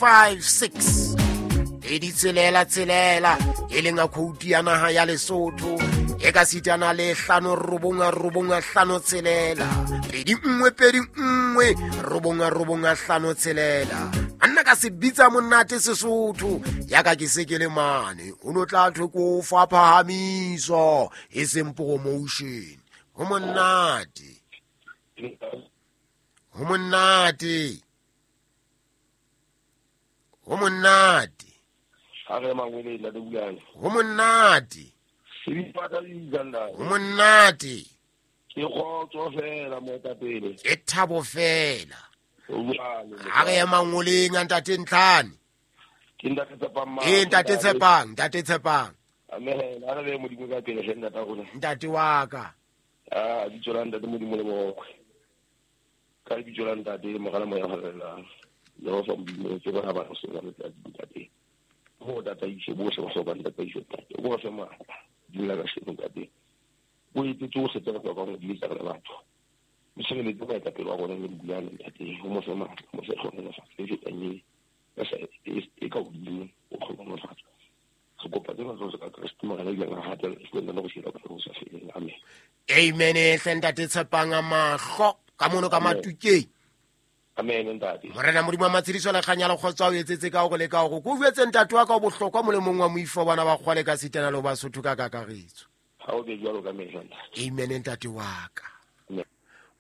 56 pedi tshelela tshelela, e leng a khoutu ya naha ya Lesotho, e ka sitana le 5 9 9 5 6 2 1 2 1 9 9 5 6. Anna ka se bitsa monate Sesotho ya ka ke se ke le mane, o no tla thwe ko fa phahamiso e seng promotion. Ho monate, ho monate, ho monate. Ha re mangwele ntate Bulane. Ho monate. Sebipata le Uganda. Ho monate. Ke kgotso fela, moetapele. Ke thabo fela. Jwale. Ha re ye mangoleng a ntate Ntlhane. Ke ntate Tshepang. Ee, ntate Tshepang, ntate Tshepang. Amen. A re be Modimo ka pele hle, ntate rona. Ntate wa ka. A bitso la ntate Modimo le bokwe. Ka lebitso la ntate Mogala Moya Halalelang. Jehova Modimo, ke bona ba se ba letsatsi, ntate. Ho tataiso bohle ba hlokang tataiso, ntate. O ba fe matla. Dula ka sheno, ntate. O etse tsohle tse re hlokang ho di etsa re le batho. O tshireletse moetapele wa rona le Bulane, ntate. O mo fe matla, o mo fe tlhohonolofatso e fetang e ka hodimo o tlhohonolofatso. Re kopa tsena tsohle ka Kreste Morena ileng a hatela lefung le go shela ka ho sa feleng. Amen. Amen hle, ntate Tshepang, a mahlo ka mono ka Amen. Matukeng. Amen, ntate. Morena Modimo wa matshediso le kganya le kgotso a o etsetse ka gore le ka gore ko jwetse, ntate wa ka o bohlokwa molemong wa moifo bana ba kgwale ka sitana le ho Basotho ka kakaretso. Ha o be jwalo ka mehla, ntate. Amen, ntate wa ka. Amen.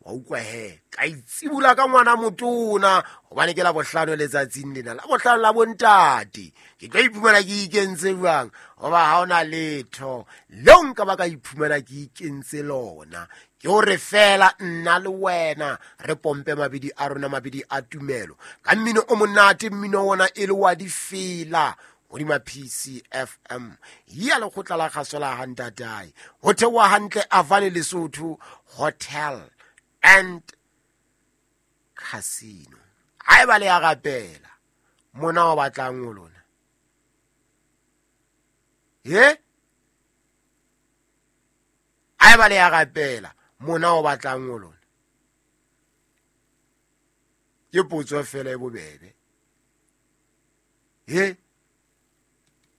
Wa utlwa he, ka itsibula ka ngwana motona gobane ke la bohlano letsatsing lena la bohlano la bontate. Ke tlo iphumana ke ikentse jwang goba ga ona letho leo nka ba ka iphumana ke ikentse lona, ke gore fela nna le wena re pompe mabidi a rona, mabidi a tumelo ka mmino o monate, mmino ona e le wa difela hodima PCFM ya lekgotla la kgaso la gantatae go theoa hantle Avane Lesotho Hotel and Casino. Ha eba le ya rapela mona o batlang o lona ye, ha eba le ya rapela mona o batlang o lona, ke potso fela e bobebe he.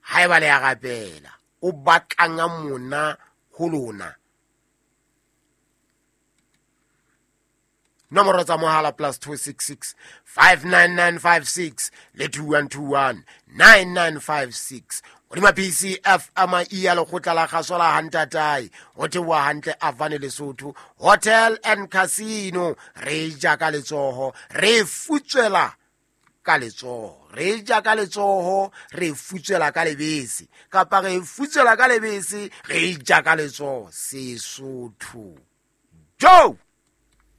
Ha eba le ya rapela o batlang mona ho lona, nomoro tsa mohala +266 59956 le 2121 9956 hodima PCF ama e ya lekgotla la kgaso la hantatae ho theoha hantle Avane Lesotho Hotel and Casino. Re ja ka letsoho, re futswela ka letsoho, re ja ka letsoho, re futswela ka lebese, kapa re futswela ka lebese, re ja ka letsoho. Sesotho jo.